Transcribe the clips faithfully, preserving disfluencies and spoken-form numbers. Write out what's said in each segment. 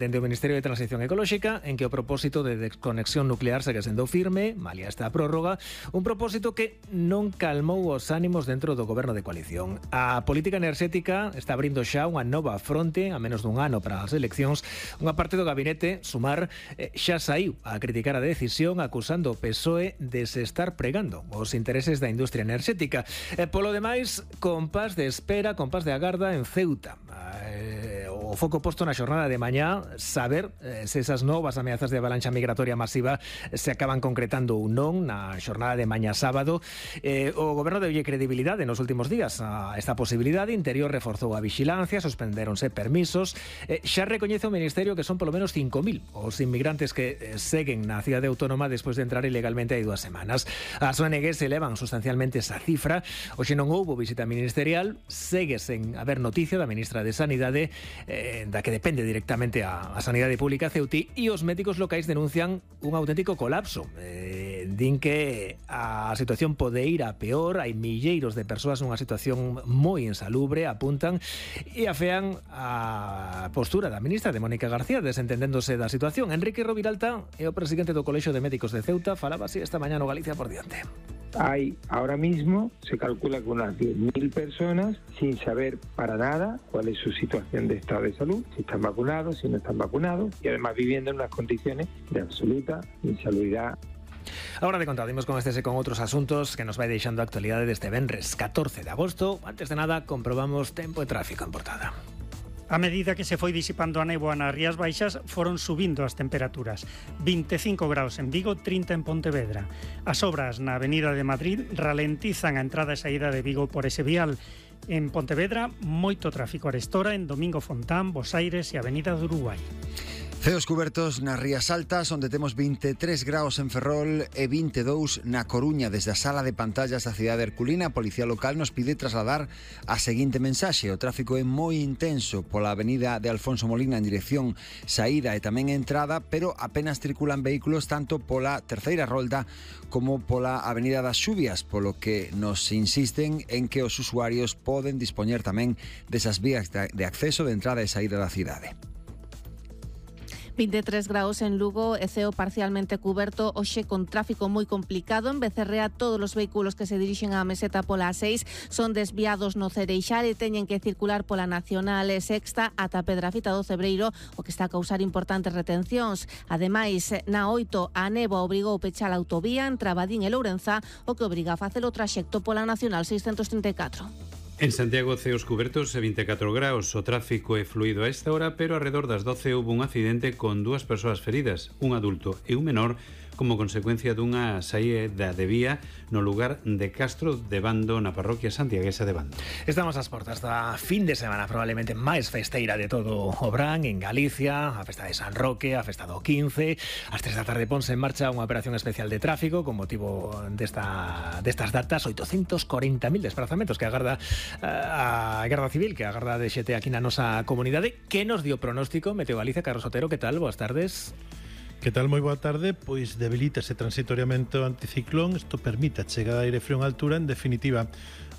Dende o Ministerio de Transición Ecolóxica, en que o propósito de desconexión nuclear segue sendo firme, malia esta prórroga, un propósito que non calmou os ánimos dentro do goberno de coalición. A política enerxética está abrindo xa unha nova fronte, a menos dun ano para as eleccións. Unha parte do gabinete, Sumar, xa saiu a criticar a decisión, acusando o P S O E de se estar pregando os intereses da industria enerxética. E polo demais, compás de espera, compás de agarda en Ceuta. O foco posto na xornada de mañá, saber eh, se esas novas ameazas de avalancha migratoria masiva se acaban concretando ou non na xornada de mañá sábado. Eh, o goberno deulle credibilidade nos últimos días a esta posibilidade. Interior reforzou a vixilancia, suspendéronse permisos. Eh, xa recoñece o Ministerio que son polo menos cinco mil os inmigrantes que eh, seguen na cidade autónoma despois de entrar ilegalmente hai dúas semanas. As O N Gs elevan sustancialmente esa cifra. Hoxe non houbo visita ministerial, segue sen haber noticia da ministra de Sanidade, eh, da que depende directamente a, a Sanidade Pública Ceuti, e os médicos locais denuncian un auténtico colapso. Eh, din que a situación pode ir a peor, hai milleiros de persoas nunha situación moi insalubre, apuntan, e afean a postura da ministra de Mónica García desentendéndose da situación. Enrique Roviralta é o presidente do Colexio de Médicos de Ceuta, falaba así esta mañá no Galicia por diante. Hay ahora mismo, se calcula que unas diez mil personas sin saber para nada cuál es su situación de estado de salud, si están vacunados, si no están vacunados, y además viviendo en unas condiciones de absoluta insalubridad. Ahora de contadimos con estes e con outros asuntos que nos vai deixando a actualidade deste venres catorce de agosto. Antes de nada, comprobamos tempo e tráfico en Portada. A medida que se foi disipando a néboa nas Rías Baixas, foron subindo as temperaturas. vinte e cinco graus en Vigo, trinta en Pontevedra. As obras na Avenida de Madrid ralentizan a entrada e saída de Vigo por ese vial. En Pontevedra, moito tráfico arestora en Domingo Fontán, Bos Aires e Avenida do Uruguai. Ceos cubertos nas Rías Altas, onde temos vinte e tres graus en Ferrol e vinte e dous na Coruña. Desde a sala de pantallas da cidade herculina, a Policía Local nos pide trasladar a seguinte mensaxe: o tráfico é moi intenso pola avenida de Alfonso Molina en dirección saída e tamén entrada, pero apenas circulan vehículos tanto pola terceira rolda como pola avenida das Xubias, polo que nos insisten en que os usuarios poden dispoñer tamén desas vías de acceso de entrada e saída da cidade. vinte e tres graus en Lugo e ceo parcialmente cuberto, hoxe con tráfico moi complicado. En Becerrea, todos os vehículos que se dirixen á meseta pola A seis son desviados no Cereixal e teñen que circular pola Nacional e Sexta ata Pedrafita do Cebreiro, o que está a causar importantes retencións. Ademais, na oito, a néboa obrigou pechar a autovía entre Abadín e Lourenza, o que obriga a facer o traxecto pola Nacional seiscentos trinta e catro. En Santiago, ceos cubertos e vinte e catro graus. O tráfico é fluido a esta hora, pero alrededor das doce houve un accidente con dúas persoas feridas, un adulto e un menor, como consecuencia dunha saída de vía no lugar de Castro de Bando, na parroquia santiaguesa de Bando. Estamos ás portas da fin de semana probablemente máis festeira de todo o Brán en Galicia, a festa de San Roque, a festa do quince. Ás tres da tarde ponse en marcha unha operación especial de tráfico con motivo desta, destas datas. oitocentos corenta mil desplazamentos que agarda a Garda Civil, que agarda de xete aquí na nosa comunidade. Que nos dio pronóstico Meteo Galicia? Carlos Otero, que tal? Boas tardes. Que tal? Moi boa tarde. Pois debilítase transitoriamente o anticiclón. Isto permite a chegada de aire frío en altura. En definitiva,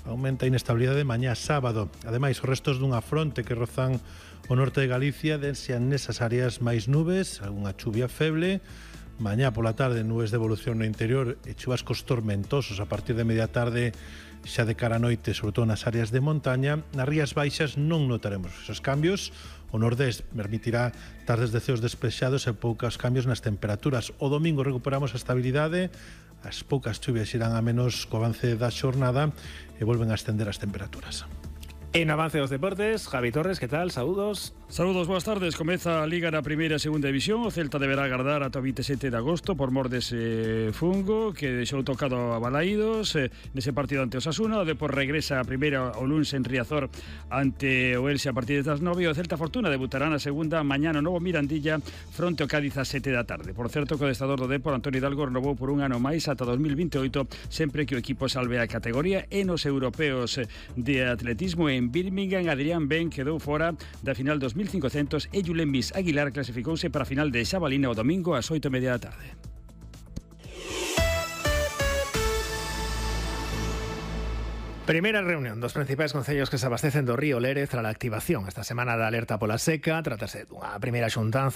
aumenta a inestabilidade mañá sábado. Ademais, os restos dunha fronte que rozan o norte de Galicia densean nesas áreas máis nubes, algunha chuvia feble. Mañá pola tarde, nubes de evolución no interior e chuvascos tormentosos a partir de media tarde, xa de cara a noite, sobre todo nas áreas de montaña. Nas Rías Baixas non notaremos esos cambios. O nordés permitirá tardes de ceos despexados e poucos cambios nas temperaturas. O domingo recuperamos a estabilidade, as poucas chuvias irán a menos co avance da xornada e volven a ascender as temperaturas. En avance dos deportes, Javi Torres, que tal? Saúdos. Saúdos, boas tardes. Comeza a Liga na primeira e segunda división. O Celta deberá agardar ata o vinte e sete de agosto por mor dese fungo que deixou tocado a Balaídos eh, nese partido ante o Osasuna. O Depor regresa a primeira o luns en Riazor ante o Elxe a partir das nove. O Celta Fortuna debutará na segunda mañá no Novo Mirandilla fronte ao Cádiz a sete da tarde. Por certo que o adestrador do Depor, Antonio Hidalgo, renovou por un ano máis ata dos mil vinte e oito, sempre que o equipo salve a categoría. E nos europeos de atletismo en Birmingham, Adrián Ben quedou fora da final dos mil cincocentos e Julen Bis Aguilar clasificouse para a final de Xabalina o domingo ás oito e media da tarde. Primeira reunión dos principais concellos que se abastecen do río Lérez tras a activación esta semana da alerta pola seca. Trátase dunha primeira xuntanza